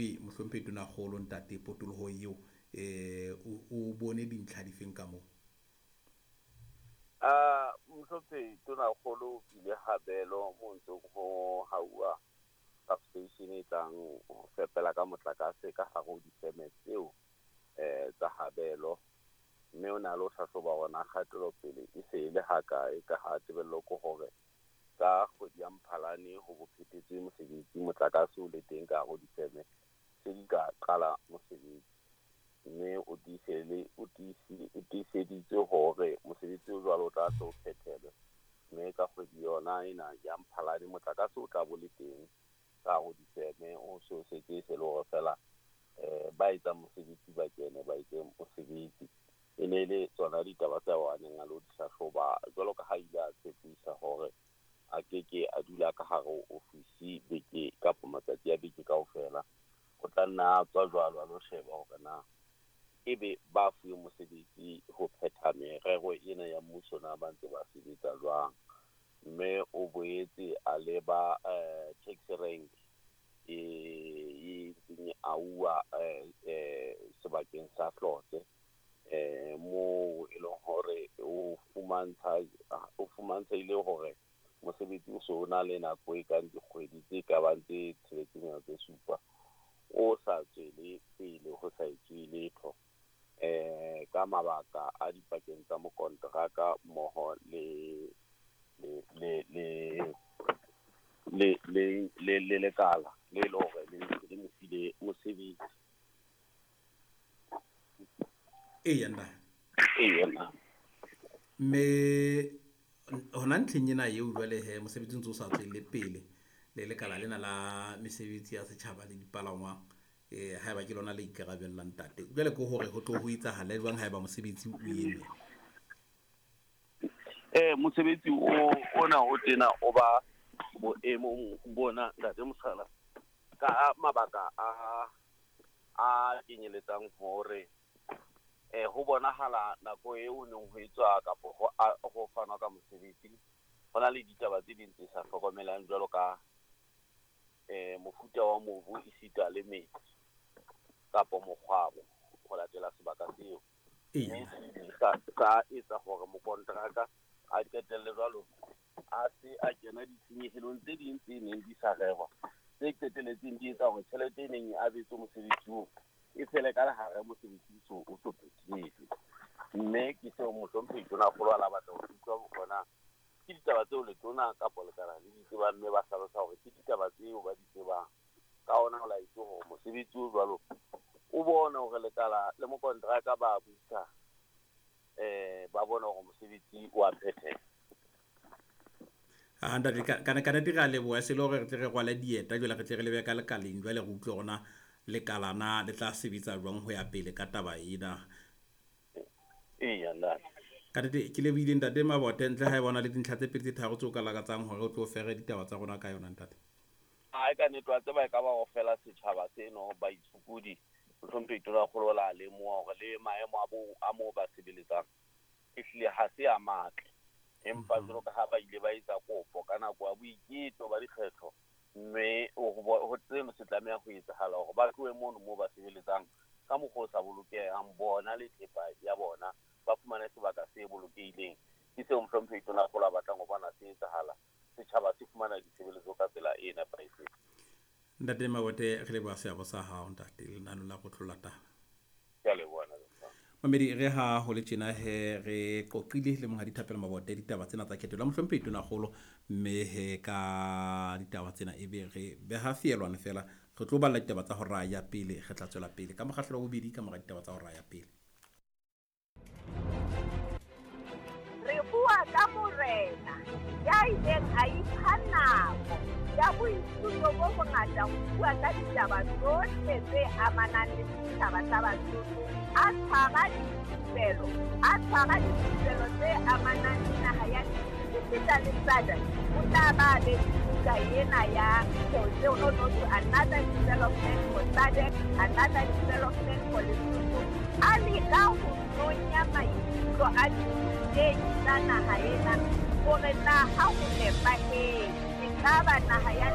Ebe mohlomphehi Tonakgolo ntate potoloho eo o bone dintlha difeng ka moo? Mohlomphehi Tonakgolo o bile habelo mo ntseng ho hauwa substation e tlang ho fepela ka motlakase ka hare ho difeme tseo tsa habelo, mme o na le ho hlahloba hore na kgatelopele e se e le hakae, ka ha tebello ke hore ka kgwedi ya Mphalane ho bo phethetswe mosebetsi, motlakase o le teng ka hare ho difeme tse di ka qala mosebetsi. Mme o tiiseditse hore mosebetsi o jwalo o tla tlo phethelwe, mme ka kgwedi yona ena ya Mphalane motlakase o tla bo le teng ka hare ho difeme, o so setse se le hore fela ba etsang mosebetsi ba kene ba etse mosebetsi. E ne le tsona ditaba tsa a neng a lo di hlahloba, jwalo ka ha ile a tshepisa hore a keke a dula ka hare ho ofisi beke kapa matsatsi a beke kaofela, o tla nna a tswa jwalo a lo sheba hore na ebe ba fuwe mosebetsi ho phetha merero ena ya mmuso na ba ntse ba sebetsa jwang. Mme o boetse a leba taxi rank e ntseng auwa sebakeng sa Hlotse, moo e leng hore o fumantshehile hore mosebetsi o so o na le nako e kang dikgwedi tse ka bang tse tsheletseng tse supa o sa tswele pele, ho sa etswe letho ka mabaka a dipakeng tsa mokonteraka mmoho le lekala le le hore le mo file mosebetsi. Eya nna. Eya nna. Mme hona ntlheng ena eo jwale he mosebetsi o ntse o sa tswelle pele le lekala lena la mesebetsi ya setjhaba le dipalangwang, haeba ke lona le ikarabellang ntate, jwale ke hore ho tlo ho etsahala jwang haeba mosebetsi o eme? Mosebetsi ona o tena o ba boemong bona ntate Mosala ka mabaka a kenyeletsang hore ho bonahala nako eo neng ho etswa kapa ho fanwa ka mosebetsi ho na le ditaba tse ding tse sa hlokomelang jwalo ka mofuta wa mobu esita le metsi kapa mokgwabo ho latela sebaka seo. Mme sa etsa hore mokonteraka a qetelle jwalo a se a kena ditshenyehelong tse ding tse neng di sa rerwa, tse qetelletseng di etsa hore tjhelete e neng e abetswe mosebetsi oo e fele ka lehare mosebetsi o so phethetswe. Mme ke seo mohlomphehi Tonakgolo a la batla ho utlwa bona ke ditaba tseo letona kapa lekala le di tsebang, mme ba hlalosa hore ke ditaba tseo ba di tsebang. Ka hona ho laetse hore mosebetsi o jwalo o bone hore lekala le mokonteraka ba buisa, ba bone hore mosebetsi o a phethela. Ntate ka nnete re a leboha, se le hore re tle re rwale dieta jwale re tle re lebe ka lekaleng jwale re utlwe hore na lekalana le tla sebetsa jwang ho ya pele ka taba ena. Eya ntate. Ka nnete ke lebohile ntate Mabote, ntle ha e bona le dintlha tse pedi tse tharo tseo ka lakatsang hore o tlo fere ditaba tsa rona ka yona ntate. Ai ka nnete wa tseba e ka ba ho fela setjhaba seno ba itshokodi, mohlomphehi Tonakgolo la lemoha hore le maemo a moo ba sebeletsang ehlile ha se a matle, empa jwalo ka ha ba ile ba etsa kopo ka nako ya boiketo ba dikgetho, mme ho tseno se tlameha ho etsahala hore ba tlohe mono moo ba sebeletsang ka mokgwa o sa bolokehang bona le thepa ya bona, ba fumane sebaka se bolokehileng. Ke seo mohlomphehi Tonakgolo a batlang ho bona se etsahala, setjhaba se fumana ditshebeletso ka tsela e nepahetseng. Ntate Mabote, re leboha seabo sa hao ntate lenaneo la Kotlo la Taba. Ke a leboha. Mamedi, re ha ho le tjena he re qoqile le monghadi Thapelo Mabote ditaba tsena tsa khetho la mohlomphehi Tonakgolo, mme he ka ditaba tsena ebe re beha feelwane fela, re tlo balla ditaba tsa hora ya pele, re tla tswela pele ka mokgahlelo wa bobedi ka mora ditaba tsa hora ya pele. Re bua ka morena ya ileng a ipha nako ya boithuto bo bongata ho bua ka ditaba tsohle tse amanang le setjhaba sa Basotho, a tshwara dithupelo tse amanang le naha ya esita le SADC. O tla ba abetse buka ena ya no another development for SADC, another development for Lesotho. A leka ho nonya maikutlo a dithutehi tsa naha ena hore na ha ho nepahetse ekaba naha ya